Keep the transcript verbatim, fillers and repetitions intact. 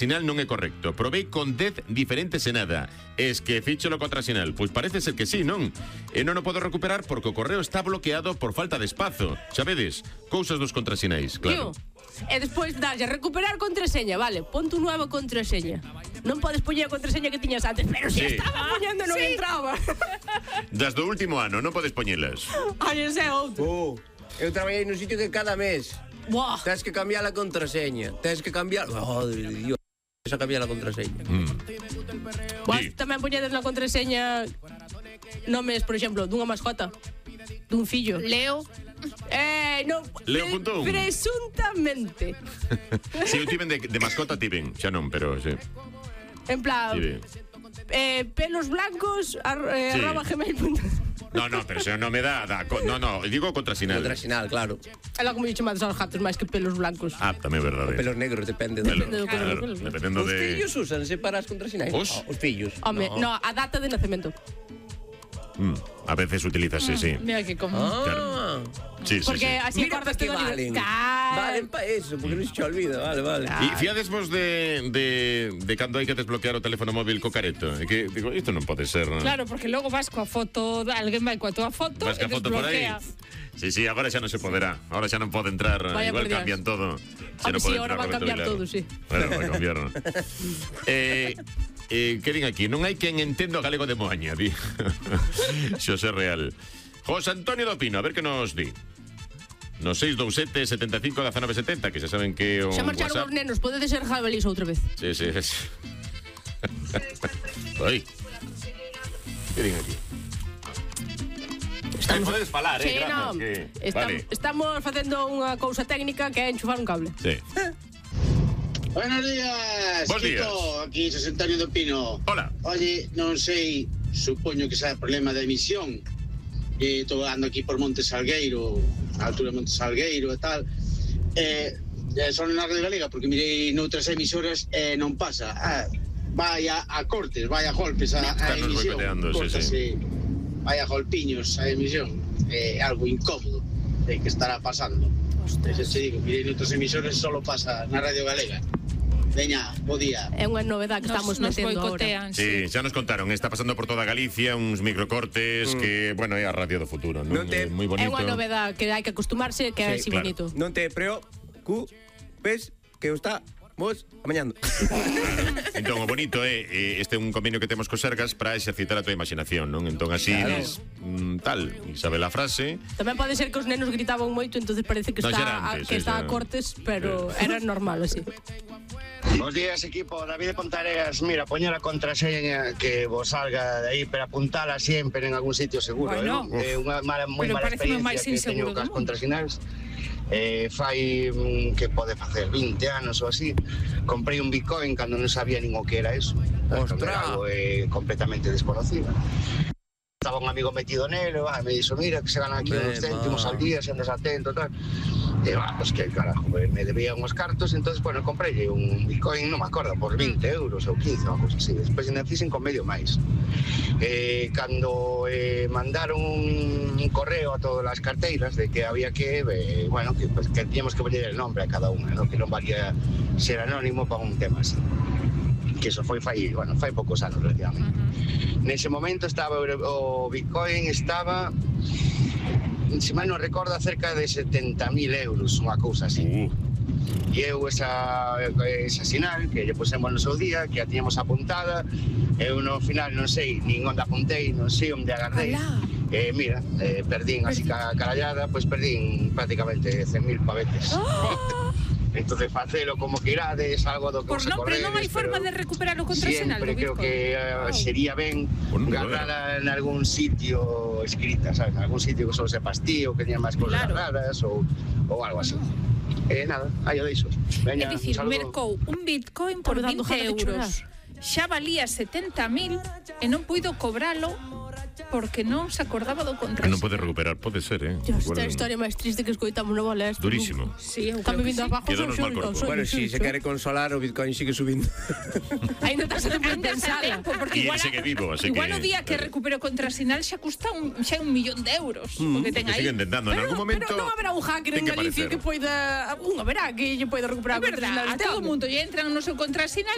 Sinal non é correcto. Probei con dez diferentes e nada. Es que fícholo contra sinal. Pois parece ser que sí, non? E non o podo recuperar porque o correo está bloqueado por falta de espazo. Xa vedes, cousas dos contrasinais, claro. Tío, e despois dalle recuperar contraseña, vale, ponte un nuevo contraseña. Non podes poñer a contraseña que tiñas antes, pero si Sí. estaba poñendo non Sí. entraba. Das do último ano, non podes poñelas. Ai, ese é outro. Oh, eu traballei nun sitio que cada mes Buah. tens que cambiar a contraseña. Tens que cambiar... Oh, Dios, tens que cambiar a contraseña. Vos Sí. tamén poñedes na contraseña nomes, por exemplo, dunha mascota, dun fillo. Leo. Eh, non, Leo pre- punto un. Presuntamente. Si eu tiven de, de mascota, tiven. Xa non, pero sí. En plan, Tiven. eh, pelos blancos ar, eh, Sí. arroba gmail punto com. No, no, pero se non me dá, dá co- no, no, digo contrasinal. Contrasinal, claro. É logo como lle chamades aos gatos máis que pelos blancos. Ah, tamén é verdade. Pelos negros, depende. Pelo- Depende do color, claro, pelos- dependendo Os de... fillos úsanse para as contrasinais. Os? Oh, os fillos. Home, no. a data de nacemento. Mm, a veces utilízase, sí. Mira que como. Ah, Sí, sí, Porque sí. así mira para acordas que todo valen. Cal- Valen para eso, porque non se che olvida. Vale, vale. E fiades vos de, de, de cando hai que desbloquear o teléfono móvil co careto? É que, digo, isto non pode ser. Non? Claro, porque logo vas coa foto, alguén vai coa túa foto Vas e que a foto por aí. desbloquea. Sí, sí, agora xa non se poderá. Agora xa non pode entrar. Vaya Igual por Dios. cambian todo. Xa Home, non sí, pode ahora entrar va a Roberto cambiar Vilar. todo, sí. Bueno, va a cambiar. ¿No? eh, eh, que din aquí? Non hai quen entendo o galego de Moaña, di. Xosé Real. José Antonio do Pino, a ver que nos di. No seis dous sete, setenta e cinco, dezanove setenta, que xa saben que o Xa marcharon WhatsApp... os nenos, podedes ser jabalís outra vez. Sí, sí, sí. Oi. Que din aquí? Estamos- Podedes falar, eh, Sí, grazas, no, que- estam- Vale. estamos facendo unha cousa técnica que é enchufar un cable. Sí. Buenos días, Bos días. Kiko, aquí José Antonio do Pino. Hola. Oye, non sei, supoño que sea problema de emisión. E estou ando aquí por Monte Salgueiro, a altura de Monte Salgueiro e tal. Eh, eh, son na Radio Galega, porque mirei noutras emisoras e eh, non pasa. Ah, vai a, a cortes, vai a golpes a, a Están nos emisión. boicoteando, sí, Córtase, vai a golpiños a emisión. É eh, algo incómodo de que estará pasando. Eso te digo, mirei noutras emisoras solo pasa na Radio Galega. Veña, bo día. É unha novedade que estamos Nos, nos metendo ahora. boicotean, Sí, xa nos contaron, está pasando por toda Galicia uns microcortes que, bueno, é a radio do futuro, non? Non te- É moi bonito. É unha novedade que hai que acostumarse, que é Sí, así claro. bonito. Non te preocupes que o está vos amañando. Entón, o bonito é, eh, este é un convenio que temos co Sergas para exercitar a tua imaginación, non? Entón, así, Claro. dis, mm, tal, e sabe la frase. Tamén pode ser que os nenos gritaban moito, entonces parece que No, xa era está, antes, que sí, está xa. a cortes, pero era normal así. Bos días, equipo. David de Pontareas. Mira, poñer a contraseña que vos salga de aí, pero apuntala sempre en algún sitio seguro. Bueno. É unha mala, moi Pero mala pareceme o experiencia máis que inseguro teño cas do mundo. contrasinais. Eh, fai mm, que pode facer vinte anos ou así. Comprei un Bitcoin cando non sabía nin o que era eso. Ostras. Era algo eh, completamente desconocido. Estaba un amigo metido nelo, ah, me dixo, mira, que se ganan aquí Hombre, uns céntimos ma. al día, se andas atento, tal. E, ah, pues que carajo, pues, me debía uns cartos, entonces, bueno, comprei un Bitcoin, non me acordo, por vinte euros ou quince, ou cosa así. Despois ainda fixen con medio máis. Eh, cando eh, mandaron un correo a todas as carteiras de que había que, eh, bueno, que, pues, que teníamos que poñer el nombre a cada unha, ¿no? Que non valía ser anónimo para un tema así. Que eso foi fai, bueno, fai poucos anos relativamente. Uh-huh. Nese momento estaba o Bitcoin estaba, se mal non recordo, cerca de setenta mil euros, unha cousa así. Uh, E eu esa, esa sinal que lle pusemos no seu día, que a tiñamos apuntada, eu no final non sei nin onde apuntei, non sei onde agarrei. Alá. Eh, mira, eh, perdín así ca carallada, pois perdín prácticamente cen mil pavetes. Oh. Entonces facelo como que irades, algo do que Por vos non, pero non hai acordedes, forma pero de recuperar o contrasinal Siempre do creo Bitcoin. que uh, Wow. sería ben Bueno, guardarla en algún sitio escrita, ¿sabes? En algún sitio que solo sepas ti ou que teña máis cosas Claro. raras ou, ou algo así. Eh, nada, aí o deixo. Veña, É dicir, un saludo. mercou un Bitcoin por Estamos dando vinte ganas de euros. Xa valía setenta mil e non puido cobralo porque non se acordaba do que contrato. non pode recuperar, pode ser, eh? Dios, Igual- esta é a historia máis triste que escoitamos no bola. Esto Durísimo. Sí, eu Está creo me que vindo sí. abajo. Quédanos mal corpo. Bueno, si se quere consolar, o Bitcoin sigue subindo. Ainda estás a tempo de Ainda está pensala. tempo, porque E igual, ele segue vivo, así igual que- o día que recupero contrasinal xa custa un, xa un millón de euros. Mm, porque ten Que aí. siguen intentando, en algún momento. Pero non haberá un hacker ten en Galicia aparecer. que poida... Un haberá que lle poida recuperar É verdad, contrasinal a este todo o home. mundo lle entran no seu contrasinal